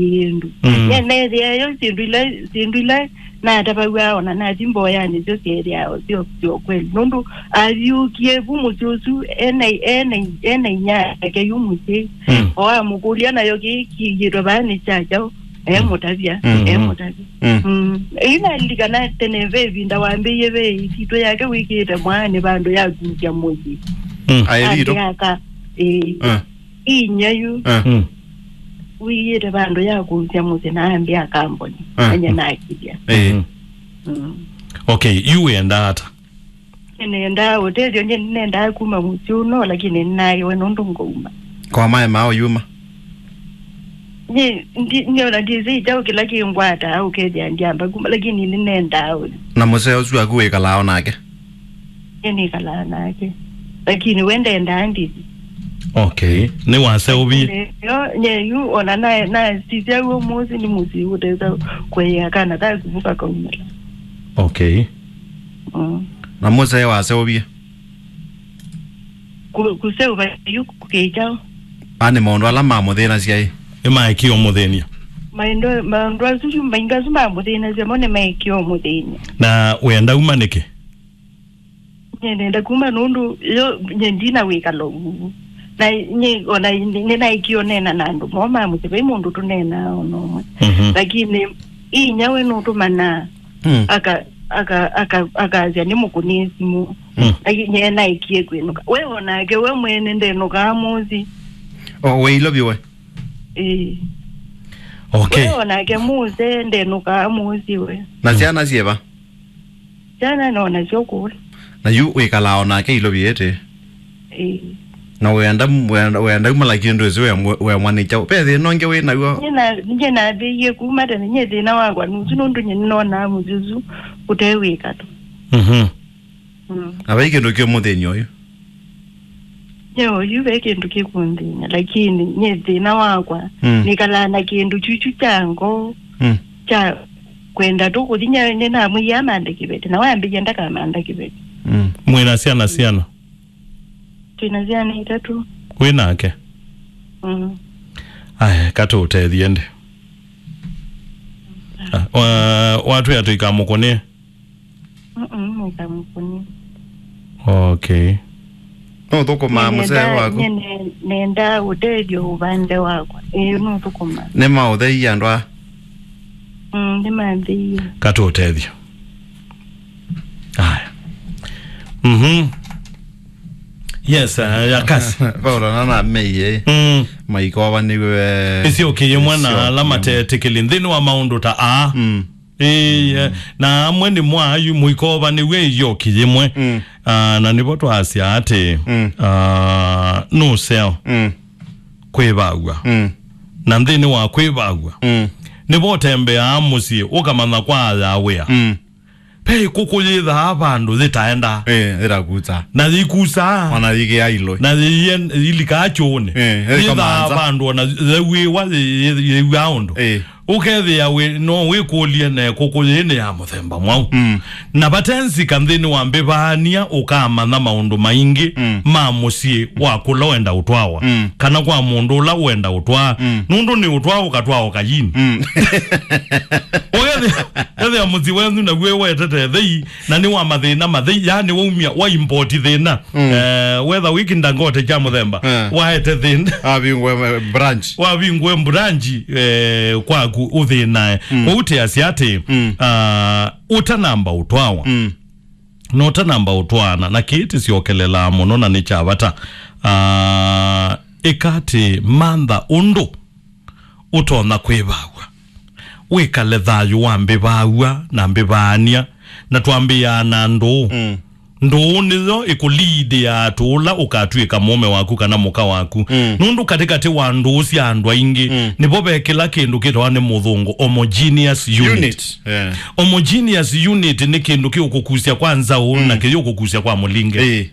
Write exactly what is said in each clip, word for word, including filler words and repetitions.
kĩndũ. Mm. Nye neethĩa yo syĩndũ ila, syĩndũ ila natavaw'a ona nathi mboyanĩ syo syeethĩawa syo, syo kweli. Nũndũ avyũkie vu mũsyĩ ũsu ena, ena, ena inya yake yu mũsyĩ. Mm. O amũkũlya nayo kĩĩ kĩigĩtwe vaa nĩ kya kyaũ? Emũtavya, mm-hmm, emũtavya. Mm. Mm. Ĩu nalilikana tene ve ĩvinda wambĩie ve ĩsitũ yake wĩkĩĩte mwaanĩ vandũ ya kusya mũsyĩ. Mm. Aĩ vitũ. Andĩ aka, ĩĩ. Ah. Inya yu. Ah. Mm. Wĩĩte vandũ ya kũusya mũsyĩ na ambĩa kamboni. Ah. Anye nakilya. Eh. Mm. Mm. Okay, yu wĩendaa ata? Nĩnendaa ũtethyo, nye nĩnendaa kuma mũsyĩ ũno, lakini nĩnaĩwe nũndũ ngauma. Kwa maema ũyuma? Nye, ndi, nĩona ndĩsĩ kyaũ kĩla kĩngwataa ũkethĩa ndiamba kuma, lakini nĩnendaa ũyu. Na mũsee ũsu waku wĩkalaa o nake? Nĩnĩkalaa nake. Lakini we ndendaa ndithi. Okay. Nĩwaseũvie? Yo, nye yu, ona na, nasisya w'o mũsyĩ nĩ mũsyĩ ũtesa kũĩa kana kakuvu kakaumĩla. Okay. Mm. Na mũsee waseũvie? Ku-, kũseũva yu kũkĩkyaũ? Ani maũndũ ala mamũthĩnasya ĩ? Nĩmaekie ũmũthĩny'a? Maũndũ, maũndũ asu yu, maũndũ asu mamũthĩnasya mo nĩmaekie ũmũthĩny'a. Na wĩenda uma nĩkĩ? Nye nenda kuma nũndũ yo nye ndina wĩkalo ũu. Na nye ona nĩnaekie ũneena na andũ moo ma mũsyĩ, vai mũndũ tũneenaa ona ũmwe. Mhm. Lakini inya we nũtũmanaa, mm, aka, aka, aka, akasya nĩ mũkũnĩe simũ. Mm. Lakini nye naekie kwĩnũka. We onake we mwene ndenũkaa mũsyĩ. O, we ilovye we? Ĩĩ. Okay. We onake mũsee ndenũkaa mũsyĩ we. Na syana syĩva? Syana no nasyo kũla. Na yu wĩkalaa o nake ilovie ĩtĩ? Ĩĩ. Na wenda, wenda, wenda umala kĩndũ ĩsu wemwa nĩ kyaũ? Ve thĩna ũngĩ wĩ naw'o? Nye na, nye nambĩie kuma tene, nye thĩna wakwa nũsu nũndũ nye nĩnonaa mũsyĩ ũsu ũte wĩkalo. Mhm. Mm. Na vai kĩndũ kĩũmũthĩny'a ũyu? Nye ũyu ve kĩndũ kĩkũnthĩny'a, lakini nye thĩna wakwa, mm, nĩkalaa na kĩndũ kyuchu kya ngoo, mm, kya kwenda tu kũthi. Nye nĩnamwĩie amanthe kĩveti, na wambĩie ndakamantha kĩveti. Mm. Mwĩna syana syana? Twĩna syana itatũ. Wĩ nake? Mm. Aya, katũũtethye ndĩ. Ah, wa-, watwĩa tũikamũkũnĩe? Mm-mm, nĩkamũkũnĩe. Okay. Nũthũkũmaa mũsee waku? Nye ne-, nenda ũtethyo ũvande wakwa. Ĩĩ, nũthũkũmaa. Nĩmaũtheie andũ aa? Mm, nĩmatheie. Katũũtethyo. Aya. Mhm. Yes, uh, ya kasi. Paulo nana meiye. Mm. Maikovanĩw'e. Ĩsyoki yĩmwe na ala matetĩkĩli nthĩnĩ wa maũndũ ta aa. Mm. Ĩĩ, na amwe nĩ mwayu mũikovanĩw'e ĩyoki yĩmwe. Mm. Ah, na nĩvo twasya atĩ, mm, ah, nũseo, mm, kwĩvaw'a. Mm. Na nthĩnĩ wa kwĩvaw'a, mm, nĩvo ũtembeaa mũsyĩ ũkamanya kwa aya wĩa. Mm. Ve ĩkũkũ yĩthaa vandũ yĩtaendaa. Eh, ĩrakusa. Na yĩkusaa. Ona yĩkĩa iloi. Na yĩen-, yĩlikaa kyũũnĩ. Eh, yĩthaa ĩkamanza vandũ ona yĩw'ĩwa, yĩ-, yĩ-, yĩw'aa ũndũ. Eh. Ũkethĩa wĩ, no wĩkũlye na ĩkũkũ yĩĩ nĩ ya mũthemba mwaũ. Mm. Na vate nzika nthĩnĩ wa mbĩvaania ũkamanya maũndũ maingĩ, mm, ma mũsyĩ wa kũla wenda ũtwawa. Mm. Kana kwa mũndũ ũla wenda ũtwaa. Mm. Nũndũ nĩ ũtwaa ũkatwaa ũkayini. Mm. Ũkethĩa, ethĩa mũsyĩ wenyu naw'o wetete thei, na nĩ wa mathĩna mathei, yaani waumya, wa import thĩna. Mm. Eh, wetha wĩkinda ngote kya mũthemba, eh, waete thĩna. Avingwe, eh, branch. Wavingwe branch, eh, kwaku ũthĩnae. Mm. Kwoou tĩasya atĩ, mm, ah, ũtanamba ũtwawa. Mm. Na ũtanamba ũtwaana, na kĩĩ tĩsyokelelaa mũno na nĩ kya vata. Ah, ĩka atĩ mantha ũndũ ũtonya kwĩvaw'a. Wĩkale thayũ wa mbĩvaw'a na mbĩvaania, na twambĩĩaa na ndũũ. Mm. Ndũũ nĩyo ĩkũliidĩaa tũũla ũkatw'ĩka mũũme waku kana mũka waku. Mm. Nũndũ katĩkatĩ wa ndũũ sya andũ aingĩ, mm, nĩvo ve kĩla kĩndũ kĩtawa nĩ mũthũngũ homogeneous unit. Unit, yeah. Homogeneous unit nĩ kĩndũ kĩũkũkusya kwa nzaũ, mm, na kĩyũkũkusya kwa mũlinge. Ĩĩ.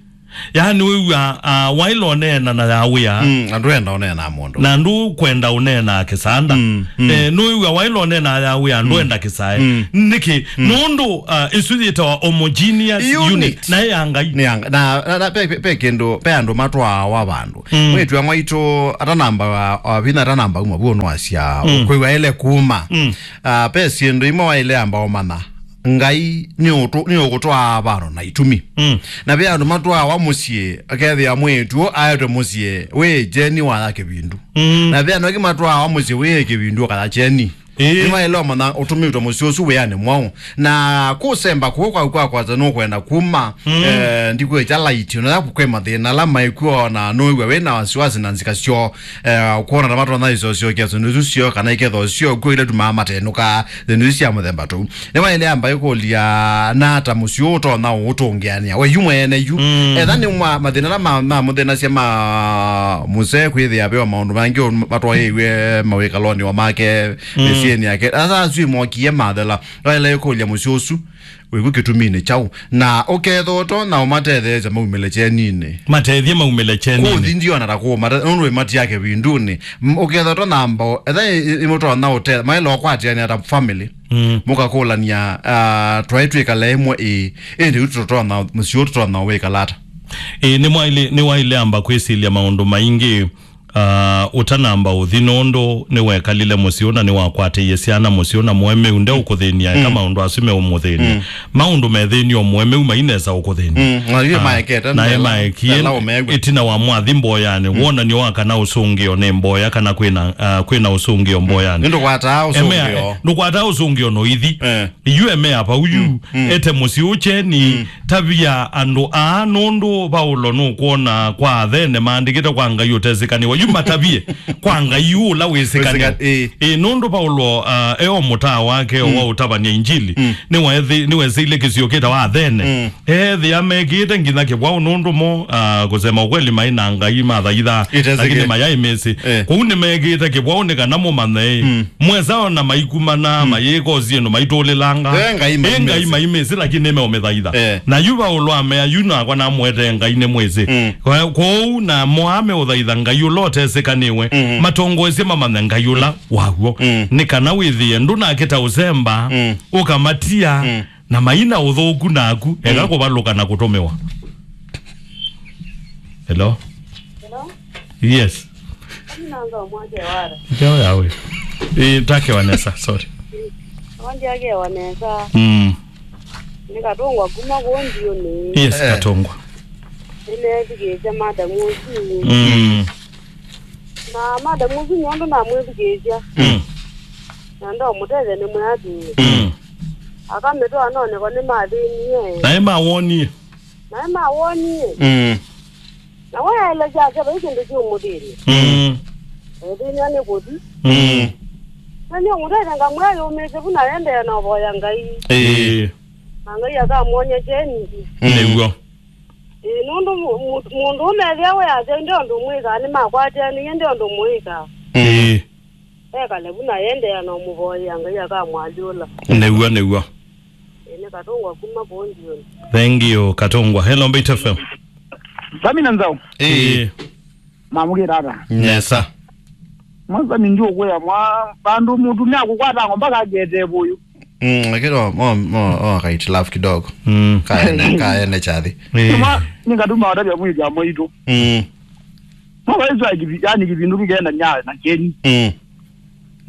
Yaani wĩw'a, ah, waĩla ũneena na ya wĩa. Mm, na ndwenda ũneena na mũndũ. Na ndũkwenda ũneena kĩsanda. Mm, mm. Eh, nũĩw'a waĩla ũneena ya wĩa, ndwenda kĩsae. Mm. Nĩkĩ? Mm. Nũndũ, ah, ĩsu yĩtawa homogeneous unit. Unit. Na ya Ngai. Nĩ ya Nga-, na, na, na pe, pe, pe kĩndũ, pe andũ matwaawa vandũ. Mm. Mwĩĩtu wa mwaitũ atanamba, ah, vinya atanamba uma vuo nũasya, mm, kwĩw'a ele kuma. Mm. Ah, pe syĩndũ imwe waĩle amba ũmanya. Ngai nĩ ũtũ-, nĩ ũkũtwaa vano na itumi. Mm. Na ve andũ matwaawa mũsyĩ, akethĩa mwĩĩtu ũũ aetwe mũsyĩ wĩ kyeni waya kĩvindu. Mm. Na ve andũ angĩ matwaawa mũsyĩ wĩ kĩvindu ũkaya kyeni. Ĩĩ. Nĩwaĩle ũmanya ũtũmĩtwe mũsyĩ ũsu wĩanĩ mwaũ. Na kũsemba kũu kwaku kwakwata nũkwenda kuma, mm, eh, ndikwĩkya laiti, ona yaku kwĩ mathĩna ala maikw'o na nũĩw'a wĩ na wasiwasi na nzika syoo. Eh, kwona ta matonya isosyokea syĩndũ isu syoo, kana iketho syoo kw'o ila tumaa matenũka syĩndũ isu sya mũthemba tũu. Nĩwaĩle amba ĩkũlya, nata mũsyĩ ũũ ũtonya ũũtũngĩanĩa we yu mwene yu? Mm. Etha nĩ mwa-, mathĩna ala ma-, mamũthĩnasya ma mũsee kwĩthĩa ve o maũndũ mangĩ o matwaĩĩw'e mawĩkalonĩ o make, mm, mĩsyĩnĩ yake. Asa asu imokie mathela. Nĩwaĩle ĩkũlya mũsyĩ ũsu wĩku kĩtuminĩ kyaũ, na ũkethwa ũtonya ũmatetheesya maumĩle kyeninĩ. Matethye maumĩle kyeninĩ. Kũthi ndiona ta kũmata, nũndũ wĩmatia kĩvindunĩ. M-, ũkethwa ũtonya mbao, etha ĩ-, ĩ-, ĩmũtonya ũte-, maĩla ũkwatĩanĩa ta family. Mm. Mũkakũlany'a, ah, twaĩ twĩkala ĩmwe ĩĩ, ĩndĩ yu tũtonya, mũsyĩ ũũ tũtonya wĩkala ata? Ĩĩ, nĩmwaĩle, nĩwaĩle amba kwĩsilya maũndũ maingĩ. Ah, ũtanamba ũthi nũndũ nĩwekalile mũsyĩ ũna, nĩwakwatĩie syana mũsyĩ ũna mũemeu, ndeũkũthĩnia, eka, mm, maũndũ asu meũmũthĩnia. Mm. Maũndũ methĩnie o mũemeu mainesa ũkũthĩnia. Mm. Na yu, ah, maekete, na ela, emaekie ela ũmeew'a. Ĩtina wa mwathi mboyanĩ, mm, wonany'o wa kana ũsũngĩo nĩ mboya kana kwĩna, ah, kwĩna ũsũngĩo mboyanĩ. Nĩ ndũkwataa ũsũngĩo. Emea, ndũkwataa ũsũngĩo noithi. Eh. Yu emea vau yu, mm, mm, ete mũsyĩ ũkyeni, mm, tavia andũ aa, nũndũ Vaulo nũkwona kwa Athene maandĩkĩte kwa Ngai ũtesĩkanĩwa. Yu matavie kwa Ngai yu ũla wĩsĩkanĩwa. Wĩsĩka-, ĩĩ. Ĩĩ, nũndũ Vaulo, ah, e o mũtaa wake, mm, wa ũtavany'a Injili, mm, nĩwethi-, nĩwesĩile kĩsio kĩtawa Athene. Mm. Eethĩa mekĩĩte nginya kĩvwaũ nũndũ mo, ah, kũsema ũkweli maĩ na ngai mathaithaa, ĩtesĩkĩe, lakini mayaĩ mĩsyĩ. Eh. Kwoou nĩmekĩĩte kĩvwaũ nĩ kana mũmanye, mm, mwesa ona maikumana, mm, mayĩka o syĩndũ maitũlĩlanga. Eh, ngai ĩ ngai maimĩsĩ. Maimĩsĩ, lakini nĩmeũmĩthaitha. Eh. Na yu Vaulo amea, yu nakwa namũetee ngai nĩmwĩsĩ. Mm. Kwa-, kwoou na moa meũthaitha ngai ũla ũtesĩkanĩwe, mm, matongoesye mamanye ngai ũla waw'o. Mm. Nĩ kana wĩthĩe ndũnakĩta ũsemba, mm, ũkamatia, mm. Na maina ũthũku naku, eka, mm, kũvalũka na kũtũmĩwa. Hello? Hello? Yes. Nanga mwake wara. Njao yawe. Eh, take Vanessa, sorry. Wanje ake Vanessa. Mm. Nĩ Katũngwa kuma kũu Ndiũnĩ. Yes, eh. Katũngwa. Nĩneethikĩĩsya madam ũsu. Mm. Na madam ũsu nyondo namwĩthikĩĩsya. Mm. Na ndomũtethya nĩ mwĩatu. Mm. Akamĩtwaa noneko nĩmathĩnie. Naĩ mawonie. Naĩ mawonie. Mm. Na we aelesya ake vai kĩndũ kĩũmũthĩnie. Mm. Ethĩnia nĩ kũthi. Mm. Na nĩũmũtethya ngamwĩa yũmĩĩsye vu na endeea na ũvoya Ngai. Ĩĩ. Na Ngai akamwony'a kyeni. Mm. Nĩw'o. Ĩĩ, nũndũ mu-, mu-, mũndũ ũmethĩa we asya, "Nde ũndũ mwĩkaa, nĩmakwatĩanĩie, nde ũndũ mwĩkaa." Mm. Ĩĩ. Ekale vu na endeea na ũmũvoyea Ngai akamwalyũla. Nĩw'o, nĩw'o. Ĩĩ, nĩ Katũngwa kuma kũu Ndiũnĩ. Thank you, Katũngwa. Hello, Mbaitu F M. Sami na Nzau. Ĩĩ. Ĩĩ. Mamũkĩra ata? Nesa. Mwa Sami ndiũkwĩa mwa, vandũ mũtumĩa kũkwata ng'omba kakete vũyũ. Mm, lakini o, o, o, o, kaitilaf kidogo. Mm. Kaene, kaene chathi. Eh. Sima, ningatuma watavya mwĩthya mwaitũ. Mm. Mwa waisu ya kivi-, yani kivindu kikenda nya na keni. Mm.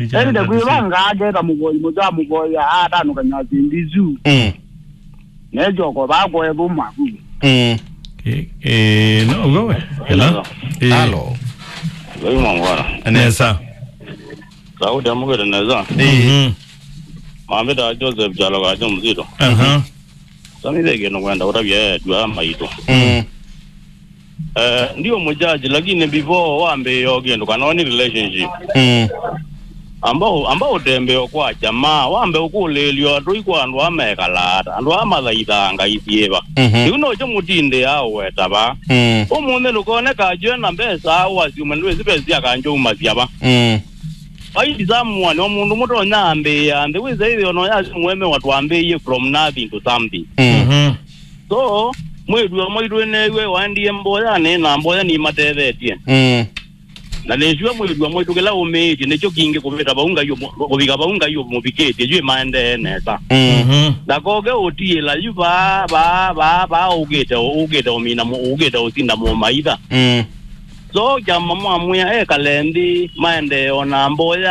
Ĩndĩ kwĩvanga aketa mũvoi mũtha mũvoya atanũkany'a syĩndũ isu. Mm. Nechoko vakwa ethũma. Mm. Eh, eh, no, go. Hello? Eh. Hello. Loi mongora. Nesa. Sauti amukite nesa. Eh. Mhm. Mambita Joseph Chalo kacho mzito. Aha. Sami ve kĩndũ ngwenda ũtavya etu aa maitũ. Mm. Eh, ndio mũjaji, lakini before wambĩĩe o kĩndũ kana o nĩ relationship. Mm. Amba ũ-, amba ũtembee o kwa jamaa, wambe ũkũlĩĩlyo atũi kwa andũ aa mekalaa ata, andũ aa mathaithaa ngai syĩva. Mhm. Yu nokyo mũtindĩaa ũweta va. Mm. Ũmũnthĩ ndũkone kanjũ e na mbesa, ũasyume ndwĩsĩ mbesa sya kanjũ umasya va. Mm. Find someone, o mũndũ mũtonya ambĩĩa nthĩ, wĩse ĩthĩ ona ũyasya mũemewa twambĩĩie from nothing to something. Mm. Mhm. So, Mwĩĩtu wa mwaitũ nĩneew'e waendie mboyanĩ, na mboya nĩimatethetye. Mm. Na nĩsua mwĩĩtu wa mwaitũ kĩla ũmĩĩtye nĩkyo kingĩ kũvĩta vau Ngai ũmũ-, kũvika vau Ngai ũmũvikĩtye, yu maendee nesa. Mm. Mhm. Ndakoke ũtiĩla yu vaa, vaa, vaa, vaa, ũkĩte, ũkĩte ũmina mũ-, ũkĩte ũsinda mũmaitha. Mm. So kyama mwamwĩa ekale nthĩ, maendee o na mboya.